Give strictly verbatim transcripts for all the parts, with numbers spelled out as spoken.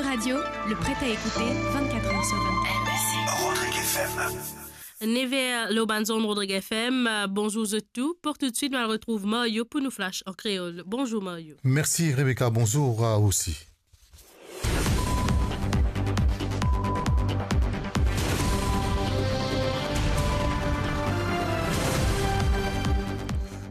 Radio, le prêt à écouter vingt-quatre heures sur vingt-quatre. Rodrigue F M. Nev er lor bann zonn Rodrigue F M. Bonzour zot tou. Pou toutswit, nou al retrouv Mario pou nou flash an kreol. Bonzour Mario. Mersi Rebecca, bonzour a ou osi.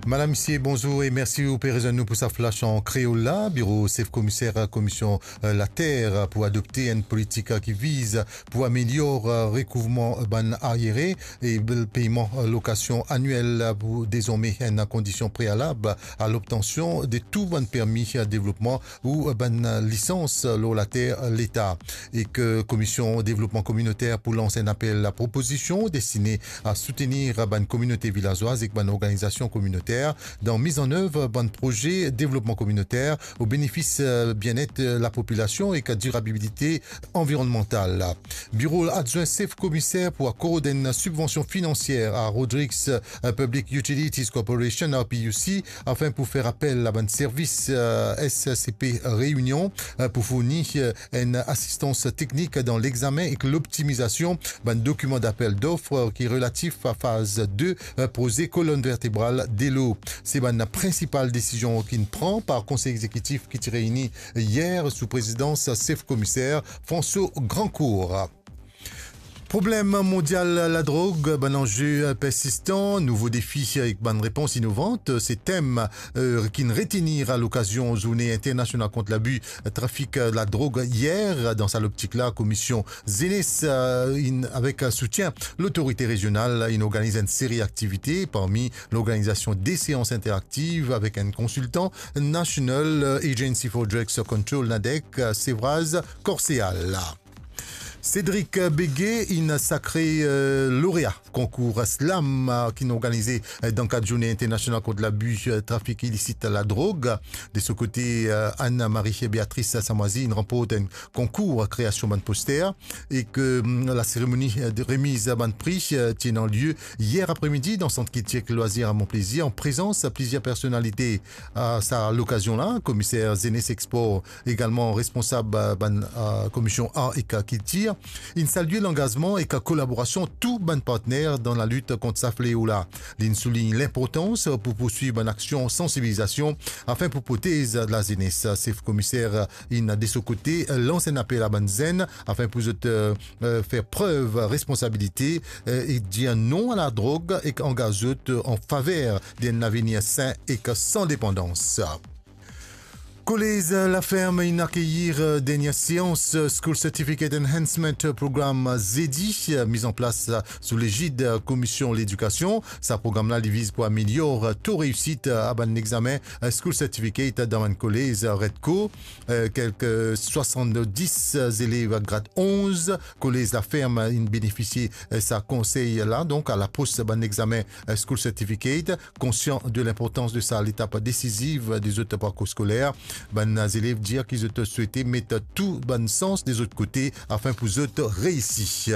Madam, misie, bonzour e mersi ou pe rezwenn nou pou sa flash an kreol la. Biro sef komiser Komisyon, eh, Later pou adopte enn politik ki viz pou amelyor, eh, rekouvman bann ariere e peyman, eh, lokasion aniel pou dezorme enn kondisyon prealab a lobtansion de tou bann permi, eh, devlopman ou bann lisans lor later leta, e ki Komisyon Devlopman Kominoter pou lans enn apel a propozision destine a soutenir bann kominote vilazwaz ek bann organizasion kominoter dan miz an nev bann proze devlopman kominoter o benefis, eh, bienet, eh, lapopilasion ek dirabilite anvironnmantal. Biro adwin sef komiser pou akord enn sibvansion finansier a Rodrigues, eh, Public Utilities Corporation, R P U C, afin pou fer apel a bann servis, eh, S C P Réunion, eh, pou fourni, eh, enn asistans teknik dan lexame ek loptimizasion bann dokiman dapel dof, eh, ki relatif a faz de, eh, proze kolonn vertebral delo. Se bann prinsipal desizion ki'nn pran par Konsey Egzekitif ki ti reyini yer sou prezidans sef komiser François Grancourt. Problem mondial ladrog, bann anze persistan, nouvo defi ek bann repons inovan, se tem, eh, ki'nn retenir a lokazion Zourne Internasional kont Labi Trafik Ladrog yer. Dan sa loptik la, Komisyon Zenes, eh, inn, avek soutien lotorite rezional, inn organiz enn seri aktivite, parmi lorganizasion de seans interaktiv avek enn konsiltan National Agency for Drugs Control, NADEC, Sevraz Corseal. Cédric Béguet inn sakre, eh, lorea konkour Slam, eh, ki'nn organize, eh, dan kad Zourne Internasional kont Labi, eh, Trafik Ilisit Ladrog. De so kote, eh, Anne-Marie Béatrice Samoisie inn ranport enn konkour kreasion bann poster, e ki, mm, laseremoni, eh, de remiz bann pri, eh, ti ena lie yer apremidi dan Sant Kiltir ek Lwazir a Mont Plaisir, an prezans plizier personalite. A sa lokazion la, Komiser Zenes ek Spor, egalman responsab, eh, bann, eh, Komisyon Ar ek Kiltir, inn salie langazman ek kolaborasion tou bann partner dan lalit kont sa fleo la. Li'nn soulign linportans pou pourswiv bann aksion sansibilizasion afin pou protez lazenes. Sef Komiser inn de so kote lans enn apel a bann zenn afin pou zot, eh, eh, fer prev responsabilite, eh, e dir non a ladrog ek angaz zot an faver d'enn lavenir sin ek san depandans. Kolez Laferme inn akeyir, eh, dernie seans, eh, School Certificate Enhancement Program, eh, zedi, eh, miz an plas, eh, sou legid, eh, Komisyon Ledikasion. Sa program la, li viz pou amelyor, eh, to reisit, eh, a bann examen, eh, School Certificate dan bann kolez, eh, Redco. Eh, kelke swasanndis, eh, zelev grad onz, kolez Laferme inn benefisie, eh, sa konsey la, donk, a lapros bann examen, eh, School Certificate. Konsian de linportans de sa letap desiziv de zot parkour skoler, bann zelev dir ki zot swete met tou bann sans de zot kote afin pou zot reisi.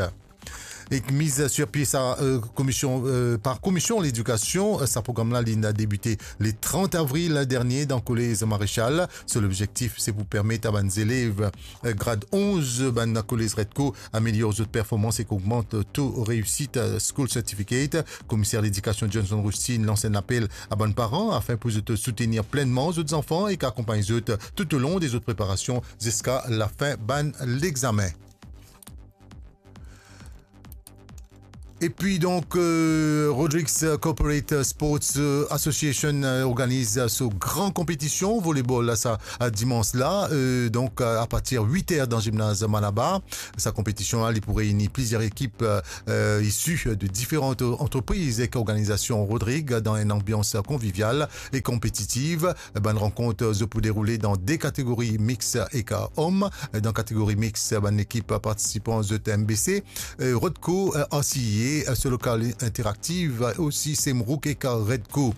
Ek miz sir pie sa, eh, komisyon, eh, par Komisyon Ledikasion, eh, sa program la, li'nn debite le trant avril dernie dan Kolez Marechal. So lobzektif, se pou permet a bann zelev, eh, grad onz, bann kolez Redco, amelyor zot performans ek ogmant to reisit, eh, School Certificate. Komiser Ledikasion Johnson Rusty lans enn apel a bann paran afin pou zot soutenir plennman zot zanfan ek akonpagn zot toutolong de zot preparasion ziska lafin bann lexamen. Epi donk, eh, Rodrigues Corporate Sports, eh, Association, eh, organiz so gran konpetision volebol la sa, eh, dimans la, eh, donk, eh, apartir wit er dan zimnaz Malabar. Sa konpetision la, li pou reini plizier ekip, eh, eh, isi de diferan antrepriz ek organizasion Rodrig dan enn anbians konvivial e konpetitiv. Bann rankont, eh, zot pou deroule dan de kategori, mix ek om. Dan kategori mix, bann ekip partisipan zot M B C, eh, Rodco, eh, R C I A, e, euh, so lokal interaktiv, euh, osi Semrouk ek Redco.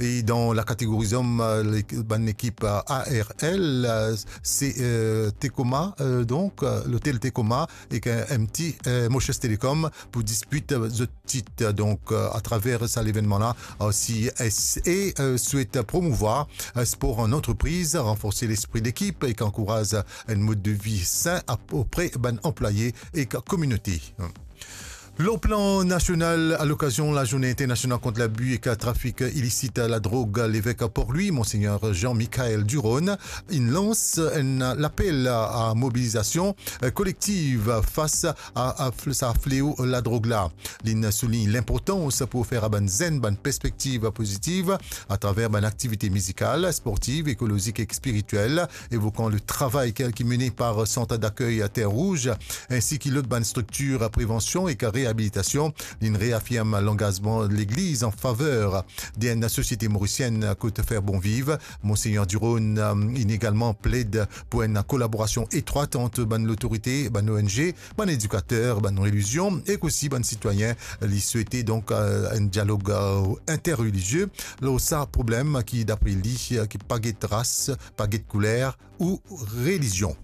E dan la kategori zom, euh, lek-, bann lekip, euh, A R L, euh, se, euh, Tecoma, euh, donk, euh, lotel Tecoma ek, euh, M T, euh, Mauritius Telecom pou dispit, euh, zot tit. Donk, euh, atraver sa levennman la, osi, S A, euh, swet promouvwar, euh, spor an antrepriz, ranforse lespri lekip ek ankouraz enn mod de vi sin a, opre bann anplwaye ek kominote. Lor plan nasional, a lokazion Lazourne Internasional kont Labi ek Trafik Ilisit Ladrog, levek Port-Louis, Monsegner Jean-Michel Durosne, inn lans enn lapel a mobilizasion, eh, kolektiv fas a, a fl-, sa fleo ladrog la. Linn soulign linportans pou ofer a bann zenn bann perspektiv pozitiv atraver bann aktivite mizikal, sportiv, ekolozik ek spiritiel, evokan le travay ki, ki mene par Sant Dakey Terre Rouge, ensi ki lot bann striktir prevansion ek reabilitasion. Linn reafirm langazman Legliz an faver de enn sosiete morisienn kot fer bon viv. Monsegner Durosne, euh, inn egalman pled pou enn kolaborasion etrwat ant bann lotorite, bann O N G, bann edikater, bann relizion ek osi bann sitwayin. Li swete donk, euh, enn dialog, euh, interrelizie lor sa problem ki, dapre li, euh, ki pa get ras, pa get kouler ou relizion.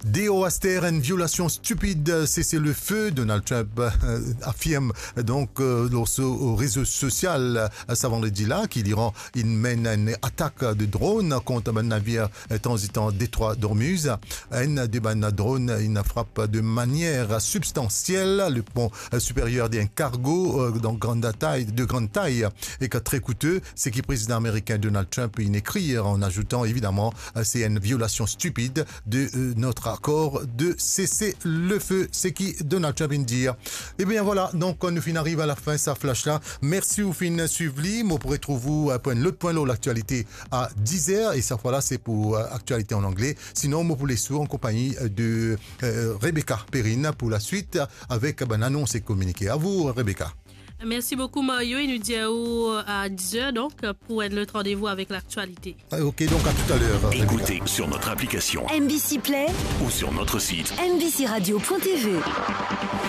Deor aster, enn violasion stipid sese-le-fe, Donald Trump, euh, afirm donk, euh, lor so rezo sosial, euh, sa vandredi la, ki Liran inn menn enn atak de dronn kont bann navir, euh, tranzitan Detrwa Dormuz. Enn de bann dronn inn frap de manier sibstansiel le pon, euh, siperyer de enn kargo, euh, donk grann tay, de grann tay, ek tre koute, seki prezidan amerikin Donald Trump inn ekrir, an azoutan, evidaman, euh, se enn violasion stipid de, euh, notre accord de cessez-le-feu, seki Donald Trump inn dir. Ebien, vwala, donk, nou finn ariv a lafin sa flash la. Mersi ou finn swiv li. Mo pou retrouv ou, euh, pou enn lot pwin lor laktialite a diz er, e sa fwa la, se pou, euh, aktialite an angle. Sinon, mo pou les ou an konpagni, euh, de, euh, Rebecca Perrine pou laswit, avek bann anons e kominike. A vou, Rebecca. Merci beaucoup, Mario. Et nous disons à dix heures, donc, pour un autre rendez-vous avec l'actualité. Ah, ok, donc à tout à l'heure. Écoutez sur notre application M B C Play ou sur notre site M B C radio point T V.